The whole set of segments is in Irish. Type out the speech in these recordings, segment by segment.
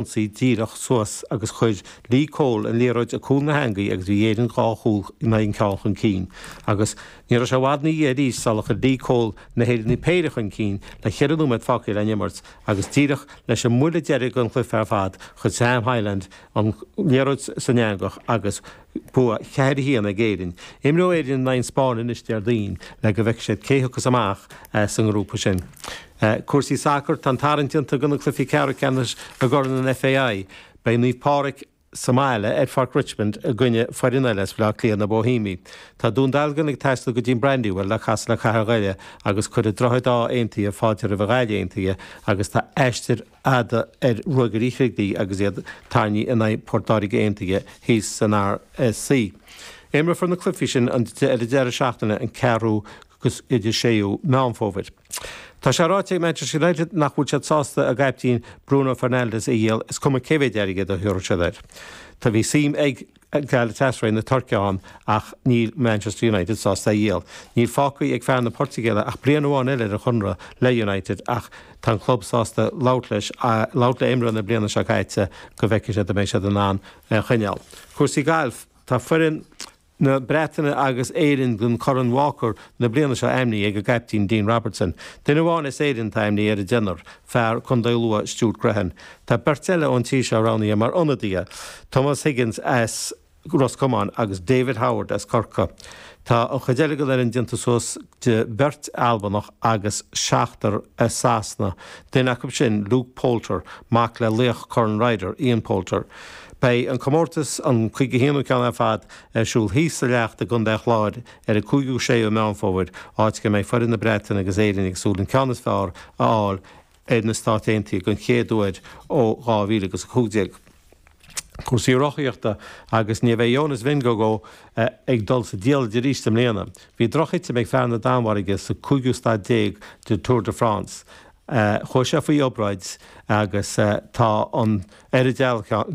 Ionsaí díreach suas agus chuir Lee Cole an liathróid ag cúl na heangaí agus bhí Éirinn 2 chúl in aghaidh an ceann chun cinn. Agus ní raibh sé i bhfad ina dhiaidh arís sular chuir Lee Cole na hÉireannaigh péire chun cinn le cheithre nóiméad fágtha le n-imirt agus díreach leis an mbuille deiridh den chluiche ar fad chuir Sam Hyland an liathróid san eangach agus bua 4 1 ag Éirinn. Imreoidh Éirinn in aghaidh an Spáinn anois Déardaoin le go bhfeicfidh siad cé thiocfas amach as an ngrúpa sin. Cúrsaí sacair, Tá an tarraingt déanta do na cluichí ceathrú ceannais i gCorn an FAI. Beidh Naomh Pádraig sa mbaile ar Pháirc Richmond i gcoinne foireann eile as Baile Átha Cliath, na Bohemiaigh. Tá Dún Dealgan ag taisteal go dtí an Brandywell le casadh le Cathair Dhoire agus cuirfidh Droichead Átha Aontaithe fáilte roimh an Ghaillimh Aontaithe agus tá aistear fhada ar Ruagairí Shligigh agus iad tarraingthe in aghaidh Port Láirge Aontaithe thíos san RSC. Imreofar na cluichí sin ar an deireadh seachtaine an 4ú agus idir 6ú Meán Fómhair. Tá sé ráite ag Manchester United nach bhfuil siad sásta a gcaiptín Bruno Fernandes a dhíol is cuma cé mhéid airgead a thabharfaidh siad air. Tá bhí suim ag Galatasaray na Tuirce ann ach níl Manchester United sásta é a dhíol. Níl fágtha ag fear na Portaingéile ach bliain amháin eile ar a chonradh le United ach tá an club sásta labhairt leis, labhairt le imreoir na bliana seo caite go bhfeicfidh siad an mbeidh siad in ann é a choinneáil. Cúrsaí gailf, Tá foireann na Breataine agus Éireann don Chorn Walker na bliana seo ainmnithe ag a gcaiptín Dean Robertson. Duine amháin as Éirinn atá ainmnithe ar an deichniúr, fear Contae Lú Stuart Grehan. Tá beirt eile ón tír seo roghnaithe mar ionadaithe, Tomás Higgins as Ros Comáin agus David Howard as Corcaigh. Tá an chuid eile den fhoireann déanta suas de bheirt Albanach agus seachtar as Sasana, duine acu sin Luke Poulter, mac le laoch Corn Ryder, Ian Poulter. Beidh an comórtas, an 51ú ceann ar fad, ar siúl thíos sa Leacht i gContae an Chláir ar an 5ú 6ú Meán Fómhair, áit go mbeidh foireann na Breataine agus Éirinn ag súil an ceann is fearr a fháil ar na Stáit Aontaithe den chéad uair ó 2015. Cúrsaí rothaíochta agus ní bheidh Jonas Vingegaard ag dul sa diallait arís i mbliana. Bhí drochthitim ag fear na Danmhairge sa cúigiú staid déag de Tour de France. Chuaigh sé faoi obráid agus tá an ar an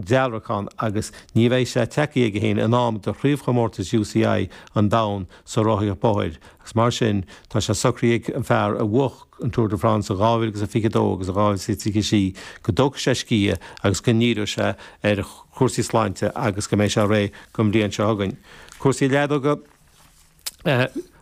dealrachán agus ní bheidh sé tagtha aige féin in am do chraobhchomórtas UCI an domhain sa rothaíocht bóthair agus mar sin tá sé socraithe ag an fear a bhuach an Tour de France in 2022 agus in 2023 go dtógfaidh sé scíth agus go ndíreoidh sé ar chúrsaí sláinte agus go mbeidh sé réidh don bhliain seo chugainn. Cúrsaí leadóga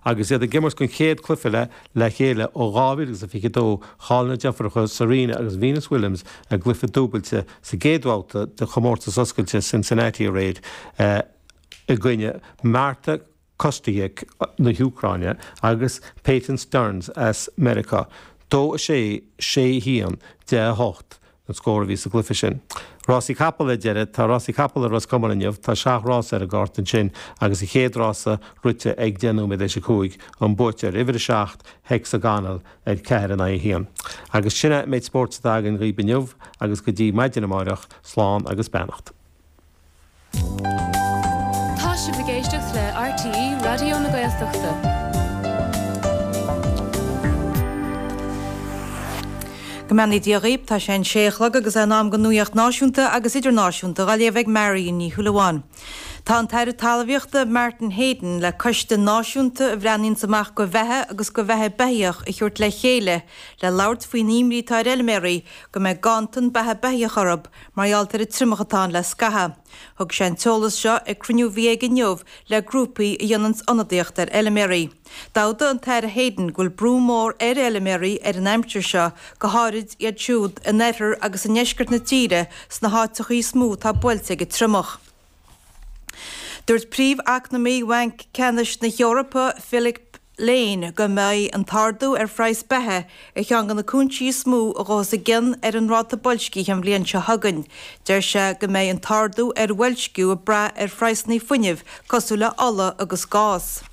Agus iad ag imirt den chéad cluiche le le chéile ó 2022, chaill na deirfiúracha Serena agus Venus Williams a gcluiche dúbailte sa gcéad bhabhta de chomórtas oscailte Cincinnati aréir i gcoinne Marta Kostyuk na hÚcráine agus Peyton Stearns as Meiriceá, 2, 6, 6, 1, 10, 8. an scór a bhí sa gcluiche sin. Rásaí capall ar deireadh. Tá rásaí capall i Ros Comáin inniu. Tá seacht rás ar an gcárta ansin agus an chéad rása rite ag 10 nóiméad théis 5, an buaiteoir, uimhir 7, Hexagonal, ar 4 in aghaidh 1. Agus sin é an méid spóirt atá againn dhaoib inniu agus go dtí maidin amáireach, slán agus beannacht. Tá sibh ag éisteacht le RTÉ Raidió na Gaeltachta. Go mbeannaí Dia dhaoib, tá sé an sé a chlog agus é in am don nuaíocht náisiúnta agus idirnáisiúnta dhá léamh ag Marion Ní Shúilleabháin. Tá an tAire Talmhaíochta Martin Heydon le coiste náisiúnta a bhreathnaíonns amach go bheatha agus go bheatha beithíoch a thabhairt le chéile le labhairt faoin imní atá ar fheilméaraí go mbeidh ganntan beatha beithíoch orthu mar gheall ar an triomach atá ann le scaitheamh. Thug sé an t-eolas seo ag cruinniú a bhí aige inniu le grúpaí a dhéananns ionadaíocht ar fheilméaraí. D'admhaigh an tAire Heydon go bhfuil brú mór ar fheilméaraí ar an aimsir seo, go háirid iad siúd in oirthear agus i ndeisceart na tíre sna háiteachaí is mó atá buailte ag an triomach. Dúirt príomh-eacnamaí Bhanc Ceannais na hEorpa, Philip Lane, go mbeidh an t-ardú ar phraghas beatha ar cheann de na cúinsí is mó a ghabhfas i gcion ar an ráta boilscithe an bhliain seo chugainn. Deir sé go mbeidh an t-ardú ar bhoilsciú ag brath ar phraghsanna fuinnimh cosúil le ola agus gás.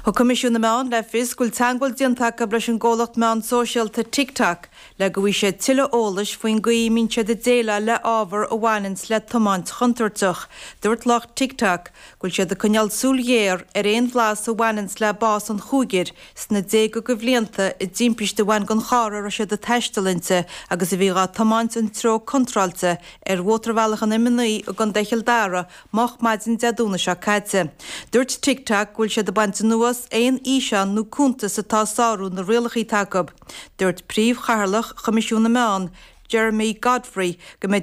Thug Coimisiún na Meán le fios go bhfuil teagmháil déanta acu leis an gcomhlacht meán sóisialta TikTok le go bhfaighidh siad tuilleadh eolais faoin gcaoi a mbíonn siad ag déileáil le ábhar a bhaineanns le tiomáint chontúirteach. Dúirt lucht TikTok go bhfuil siad ag coinneáil súil ghéar ar aon bhlas a bhaineanns le bás an chúigir sna déaga de bhlianta i dtimpiste a bhain den charr a raibh siad ag taisteal inti agus a bhí dhá tiomáint an treo contráilte ar mhótarbhealach an M9 i gContae Chill Dara moch maidin Dé Domhnaigh seo caite. Dúirt TikTok go bhfuil siad ag baint anuas aon fhíseán nó cuntas atá ag sárú na rialacha atá acu. Dúirt príomh-chathaoirleach Choimisiún na Meán. Jeremy Godfrey go mbeidh.